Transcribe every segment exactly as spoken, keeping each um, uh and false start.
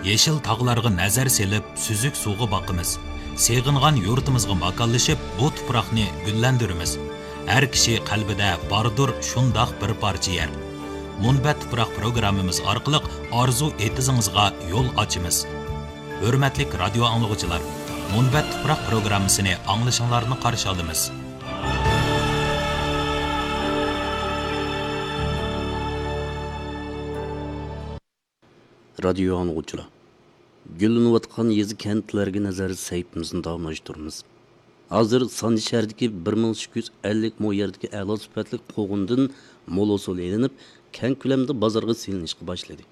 يېشىل تاغلارغا نەزەر سېلىپ، سۈزۈك سۇغا باقىمىز. سېغىنغان يۇرتىمىزغا ماكانلىشىپ، بۇ تۇپراقنى گۈللەندۈرىمىز. ھەر كىشى قەلبىدە باردۇر شۇنداق بىر پارچە يەر. مۇنبەت تۇپراق پروگراممىمىز ئارقىلىق ئارزۇ ئېتىزىڭىزغا يول ئاچىمىز. ھۆرمەتلىك رادىيو ئاڭلىغۇچىلار، مۇنبەت تۇپراق پروگراممىسىنى ئاڭلىشىڭلارنى قارشى ئالىمىز. رادىيو ئاڭلىغۇچىلار، گۈللىنىۋاتقان يېزا، كەنتلەرگە نەزەر سەھىپىمىزنى داۋاملاشتۇرىمىز. ھازىر سانجى شەھىرىدىكى بىر مىڭ ئىككى يۈز ئەللىك مو يەردىكى ئەلا سۈپەتلىك قوغۇندىن مول ھوسۇل ئېلىنىپ، كەڭ كۆلەمدە بازارغا سېلىنىشقا باشلىدى.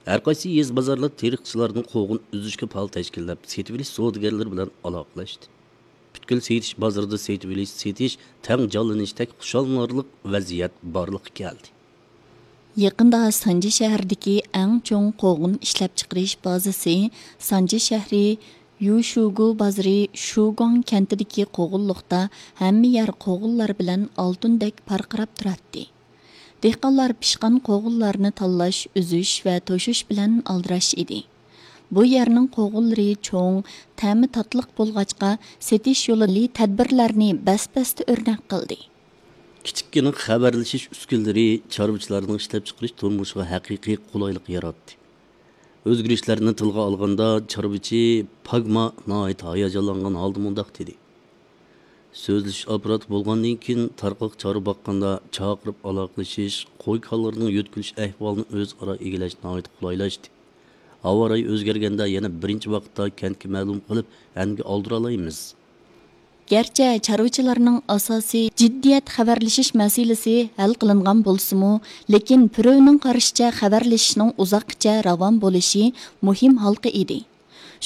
ھەر قايسى يېزا، بازارلار تېرىقچىلاردىن قوغۇن ئۈزۈشكە پال تەشكىللەپ، سېتىۋېلىش سودىگەرلىرى بىلەن ئالاقىلەشتى. پۈتكۈل سېتىش بازىرىدا سېتىۋېلىش، سېتىش تەڭ جانلىنىشتەك خۇشاللىنارلىق ۋەزىيەت بارلىققا كەلدى. يېقىندا سانجى شەھىرىدىكى ئەڭ چوڭ قوغۇن ئىشلەپچىقىرىش بازىسى، سانجى شەھىرى يۇشۇگۇ بازىرى شۇگۇاڭ كەنتىدىكى قوغۇنلۇقتا ھەممە يەر قوغۇنلار بىلەن ئالتۇندەك پارقىراپ تۇراتتى. دېھقانلار پىشقان قوغۇنلارنى تاللاش، ئۈزۈش ۋە توشۇش بىلەن ئالدىراش ئىدى. بۇ يەرنىڭ قوغۇنلىرى چوڭ، تەمى تاتلىق بولغاچقا، سېتىش يولى تەدبىرلەرنى بەس-بەستە ئۆرنەك قىلدى. كىچىككىنە خەۋەرلىشىش ئۈسكۈنىلىرى چارۋىچىلارنىڭ ئىشلەپچىقىرىش تۇرمۇشىغا ھەقىقىي قولايلىق ياراتتى. ئۆزگىرىشلەرنى تىلغا ئالغاندا، چارۋىچى پاگما ناھايىتى ھاياجانلانغان ھالدا مۇنداق دېدى: سۆزلىشىش ئاپپاراتى بولغاندىن كېيىن، تارقاق چارۋا باققاندا چاقىرىپ ئالاقىلىشىش، قوي-كالىلىرىنىڭ يۆتكىلىش ئەھۋالىنى ئۆزئارا ئىگىلەش ناھايىتى قولايلاشتى. ھاۋا رايى ئۆزگەرگەندە يەنە بىرىنچى ۋاقىتتا كەنتكە مەلۇم قىلىپ، ئەنگە ئالدۇرالايمىز. گەرچە چارۋىچىلارنىڭ ئاساسىي جىددىيەت خەۋەرلىشىش مەسىلىسى ھەل قىلىنغان بولسىمۇ، لېكىن پۈرۈۋنىڭ قارىشىچە، خەۋەرلىشىشنىڭ ئۇزاققىچە راۋان بولۇشى مۇھىم ھالقا ئىدى.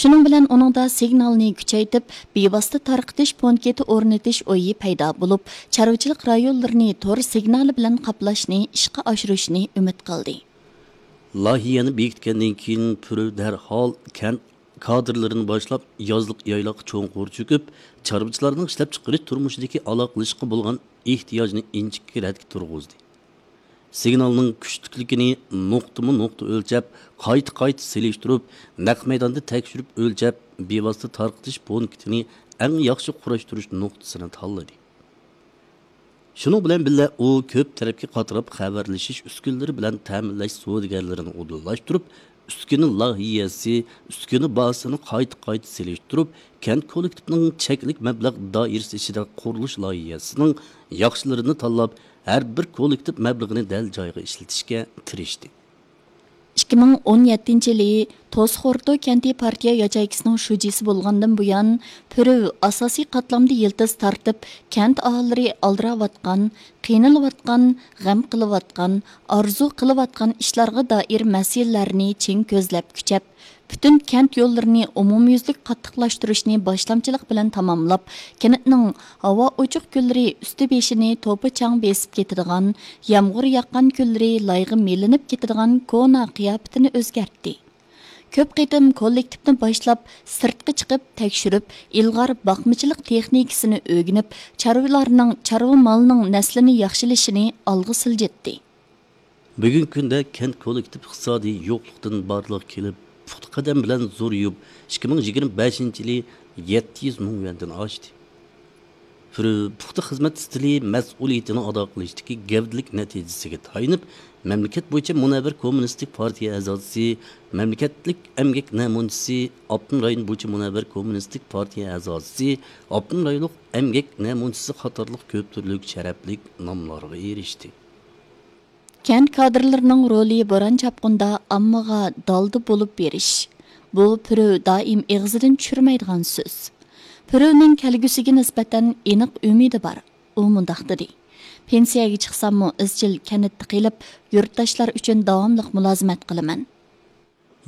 شۇنىڭ بىلەن ئۇنىڭدا سىگنالنى كۈچەيتىپ، بىۋاسىتە تارقىتىش پونكىتى ئورنىتىش ئويى پەيدا بولۇپ، چارۋىچىلىق رايونلىرىنى تور سىگنالى بىلەن قاپلاشنى ئىشقا ئاشۇرۇشنى ئۈمىد قىلدى. لايىھەنى بېكىتكەندىن كېيىن، پۈرۈ دەرھال كەنت كادىرلىرىنى باشلاپ، يازلىق يايلاققا چوڭقۇر چۆكۈپ، چارۋىچىلارنىڭ ئىشلەپچىقىرىش تۇرمۇشىدىكى ئالاقىلىشىشقا بولغان ئېھتىياجنى ئىنچىكە رەتكە تۇرغۇزدى. سىگنالنىڭ كۈچلۈكلۈكىنى نۇقتىمۇ نۇقتا ئۆلچەپ، قايتا قايتا سېلىشتۇرۇپ، نەق مەيداندا تەكشۈرۈپ ئۆلچەپ، بىۋاسىتە تارقىتىش پونكىتىنى ئەڭ ياخشى قۇراشتۇرۇش نۇقتىسىنى تاللىدى. شۇنىڭ بىلەن بىللە، ئۇ كۆپ تەرەپكە قاتراپ خەۋەرلىشىش ئۈسكۈنىلىرى بىلەن تەمىنلەش سودىگەرلىرىنى ئۇدۇللاشتۇرۇپ، ئۈسكۈنە لايىھەسى، ئۈسكۈنە بازىسىنى قايتا قايتا سېلىشتۇرۇپ، كەنت كوللېكتىپىنىڭ چەكلىك مەبلەغ دائىرىسى ئىچىدە قۇرۇلۇش لايىھەسىنىڭ ياخشىلىرىنى تاللاپ، ھەر بىر كوللېكتىپ مەبلىغىنى دەل جايىغا ئىشلىتىشكە تىرىشتى. ئىككى مىڭ ئون يەتتىنچى يىلى توسخورتو كەنتى پارتىيە ياچېيكىسىنىڭ شۇجىسى بولغاندىن بۇيان، پۈرۈ ئاساسىي قاتلامدا يىلتىز تارتىپ، كەنت ئاھالىلىرى ئالدىراۋاتقان، قىينىلىۋاتقان، غەم قىلىۋاتقان، ئارزۇ قىلىۋاتقان ئىشلارغا دائىر مەسىلىلەرنى چىڭ كۆزلەپ كۈچەپ، پۈتۈن كەنت يوللىرىنى ئومۇميۈزلۈك قاتتىقلاشتۇرۇشنى باشلامچىلىق بىلەن تاماملاپ، كەنتنىڭ ھاۋا ئوچۇق كۈنلىرى ئۈستى بېشىنى توپا چاڭ بېسىپ كېتىدىغان، يامغۇر ياغقان كۈنلىرى لايغا مىلىنىپ كېتىدىغان كونا قىياپىتىنى ئۆزگەرتتى. كۆپ قېتىم كوللېكتىپنى باشلاپ، سىرتقا چىقىپ تەكشۈرۈپ، ئىلغار باقمىچىلىق تېخنىكىسىنى ئۆگىنىپ، چارۋىلارنىڭ، چارۋا مالىنىڭ نەسلىنى ياخشىلىشىنى ئالغا سىلجىتتى. بۈگۈنكى كۈندە كەنت كوللېكتىپ ئىقتىسادىي يوقلۇقتىن بارلىققا كېلىپ، پۇختا قەدەم بىلەن زورىيىپ، ئىككى مىڭ يىگىرمە بەشىنچى يىلى يەتتە يۈز مىڭ يۈەندىن ئاشتى. پۈرۈ پۇختا خىزمەت ئىستىلى مەسئۇلىيىتىنى ئادا قىلىشتىكى گەۋدىلىك نەتىجىسىگە تايىنىپ، مەملىكەت بويىچە مۇنەۋۋەر كوممۇنىستىك پارتىيە ئەزاسى، مەملىكەتلىك ئەمگەك نەمۇنىچىسى، ئاپتونوم رايون بويىچە مۇنەۋۋەر كوممۇنىستىك پارتىيە ئەزاسى، ئاپتونوم رايونلۇق ئەمگەك نەمۇنىچىسى قاتارلىق كۆپ تۈرلۈك شەرەپلىك ناملارغا ئېرىشتى. كەنت كادىرلىرىنىڭ رولى بوران-چاپقۇندا ئاممىغا دالدا بولۇپ بېرىش. بۇ پۈرۈ دائىم ئېغىزىدىن چۈشۈرمەيدىغان سۆز. پۈرۈنىڭ كەلگۈسىگە نىسبەتەن ئېنىق ئۈمىدى بار. ئۇ مۇنداق دېدى: پېنسىيەگە چىقساممۇ ئىزچىل كەنتتە قېلىپ، يۇرتداشلار ئۈچۈن داۋاملىق مۇلازىمەت قىلىمەن.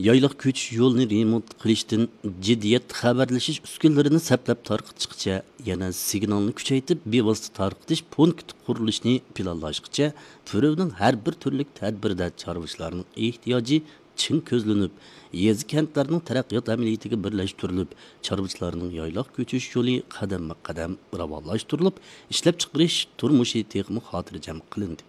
يايلاق كۆچۈش يولىنى رېمونت قىلىشتىن جىددىيەت خەۋەرلىشىش ئۈسكۈنىلىرىنى سەپلەپ تارقىتىشقىچە، يەنە سىگنالنى كۈچەيتىپ، بىۋاسىتە تارقىتىش پونكىتى قۇرۇلۇشىنى پىلانلاشقىچە، پۈرۈۋنىڭ ھەر بىر تۈرلۈك تەدبىرىدە چارۋىچىلارنىڭ ئېھتىياجى چىڭ كۆزلىنىپ، يېزا، كەنتلەرنىڭ تەرەققىيات ئەمەلىيىتىگە بىرلەشتۈرۈلۈپ، چارۋىچىلارنىڭ يايلاق كۆچۈش يولى قەدەممۇ قەدەم راۋانلاشتۇرۇلۇپ، ئىشلەپچىقىرىش تۇرمۇشى تېخىمۇ خاتىرجەم قىلىندى.